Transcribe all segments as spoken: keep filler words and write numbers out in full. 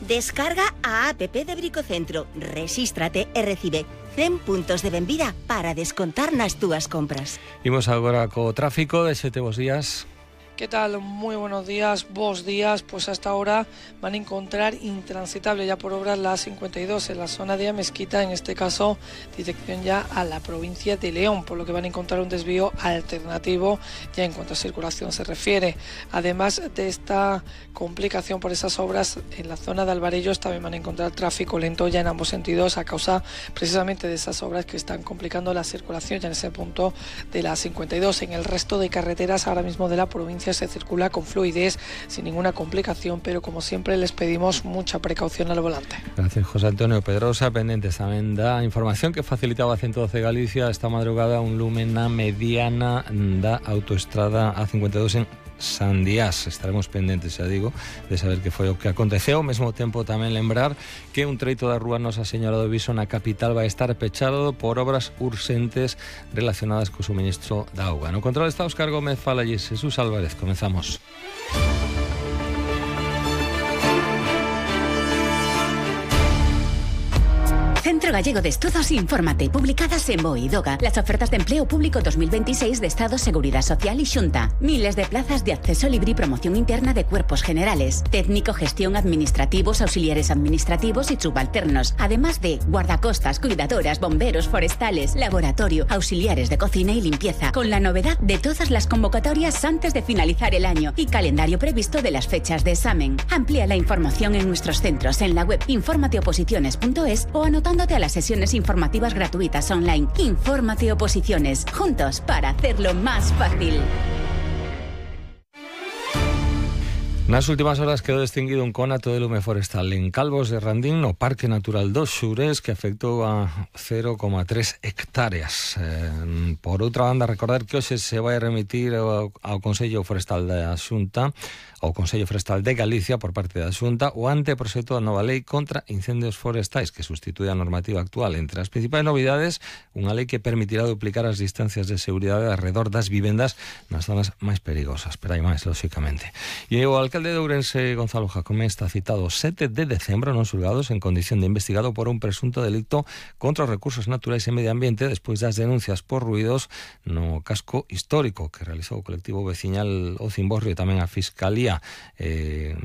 Descarga a app de Bricocentro, rexístrate e recibe cen puntos de benvida para descontar nas túas compras. Imos agora co tráfico de Sete Bos Días. ¿Qué tal? Muy buenos días, vos días. Pues hasta ahora van a encontrar intransitable ya por obras la A cincuenta y dos en la zona de Amezquita, en este caso dirección ya a la provincia de León, por lo que van a encontrar un desvío alternativo ya en cuanto a circulación se refiere. Además de esta complicación por esas obras, en la zona de Alvarellos también van a encontrar tráfico lento ya en ambos sentidos a causa precisamente de esas obras que están complicando la circulación ya en ese punto de la A cincuenta y dos. En el resto de carreteras ahora mismo de la provincia se circula con fluidez, sin ninguna complicación, pero como siempre les pedimos mucha precaución al volante. Gracias, José Antonio Pedrosa. Pendentes tamén da información que facilitaba a ciento doce Galicia esta madrugada un lume na mediana da autoestrada A cincuenta e dos en Sandiás. Estaremos pendentes, xa digo, de saber que foi o que aconteceu. Ao mesmo tempo tamén lembrar que un treito da rúa Nosa Señora do Viso na capital vai estar pechado por obras urxentes relacionadas co suministro da auga. No control está Óscar Gómez, fala allí Jesús Álvarez. Comenzamos. Centro Gallego de Estudos Infórmate, publicadas en BOE y DOGA. Las ofertas de empleo público dos mil veintiséis de Estado, Seguridad Social y Xunta. Miles de plazas de acceso libre y promoción interna de cuerpos generales. Técnico, gestión, administrativos, auxiliares administrativos y subalternos. Además de guardacostas, cuidadoras, bomberos, forestales, laboratorio, auxiliares de cocina y limpieza. Con la novedad de todas las convocatorias antes de finalizar el año y calendario previsto de las fechas de examen. Amplía la información en nuestros centros en la web informateoposiciones punto es o anotando a las sesiones informativas gratuitas online. Infórmate Oposiciones, juntos para hacerlo más fácil. Nas últimas horas quedou extinguido un conato de lume forestal en Calvos de Randín, no Parque Natural dos Xures, que afectou a cero coma tres hectáreas. Eh, por outra banda, recordar que hoxe se vai remitir ao, ao Consello Forestal da Xunta, ao Consello Forestal de Galicia, por parte da Xunta, o anteproxecto da nova lei contra incendios forestais, que sustitui a normativa actual. Entre as principais novidades, unha lei que permitirá duplicar as distancias de seguridade alrededor das vivendas nas zonas máis perigosas. Pero hai máis, lóxicamente. E o alcalde de Ourense, Gonzalo Jacome, está citado sete de decembro nos xulgados en condición de investigado por un presunto delito contra os recursos naturais e medio ambiente despois das denuncias por ruidos no casco histórico que realizou o colectivo veciñal O Cimborrio e tamén a Fiscalía. Eh,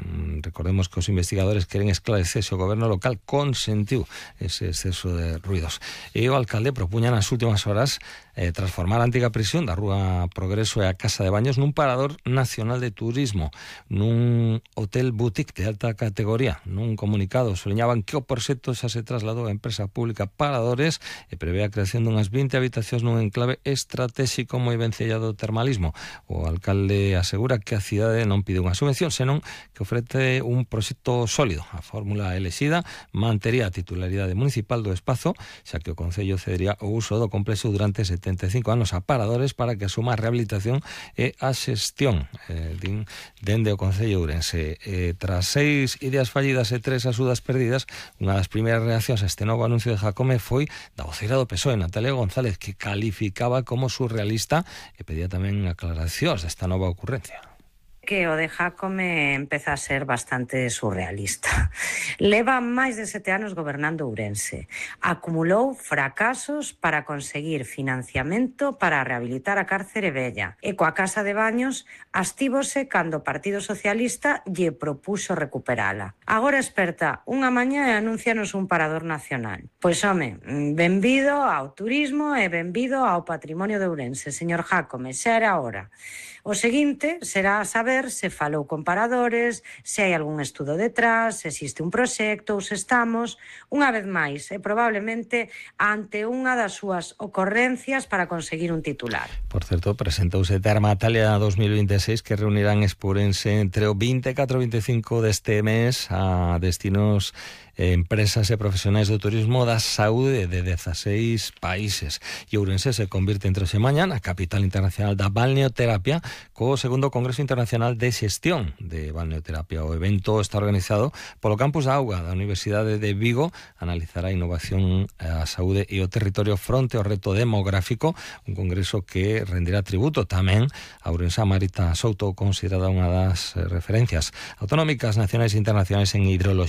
recordemos que os investigadores queren esclarecer se o goberno local consentiu ese exceso de ruidos. E o alcalde propuña nas últimas horas eh, transformar a antiga prisión da Rúa Progreso e a Casa de Baños nun parador nacional de turismo, nun hotel boutique de alta categoría. Nun comunicado soleñaban que o proxecto xa se trasladou á empresa pública Paradores e prevé a creación dunhas vinte habitacións nun enclave estratégico moi vencellado do termalismo. O alcalde asegura que a cidade non pide unha subvención, senón que ofrece un proxecto sólido. A fórmula elexida mantería a titularidade municipal do espazo, xa que o Concello cedería o uso do complexo durante setenta e cinco anos a Paradores para que asuma a rehabilitación e a xestión eh, din, dende o Concello Ourense. Eh, tras seis ideas fallidas e tres axudas perdidas, unha das primeiras reaccións a este novo anuncio de Jacome foi da voceira do P S O E, Natalia González, que calificaba como surrealista e pedía tamén aclaracións desta nova ocurrencia. Que o de Jacome empeza a ser bastante surrealista. Leva máis de sete anos gobernando Ourense. Acumulou fracasos para conseguir financiamento para rehabilitar a cárcere vella. E coa Casa de Baños astívose cando o Partido Socialista lle propuxo recuperala. Agora esperta unha mañá e anúncianos un parador nacional. Pois home, benvido ao turismo e benvido ao patrimonio de Ourense, señor Jacome, xa era hora. O seguinte será saber se falou con Paradores, se hai algún estudo detrás, se existe un proxecto ou se estamos, unha vez máis, e probablemente ante unha das súas ocorrencias para conseguir un titular. Por certo, presentouse Termatalia dos mil veintiséis que reunirán Expurense entre o vinte e catro e vinte e cinco deste mes a destinos empresas e profesionais do turismo da saúde de dezaseis países. E Ourense se convirte entre hoxe e mañá na capital internacional da balneoterapia co segundo Congreso Internacional de Xestión de Balneoterapia. O evento está organizado polo Campus da Auga da Universidade de Vigo, analizará a innovación, a saúde e o territorio fronte ao reto demográfico, un congreso que rendirá tributo tamén a Ourense. Marita Souto, considerada unha das referencias autonómicas nacionais e internacionais en hidroloxía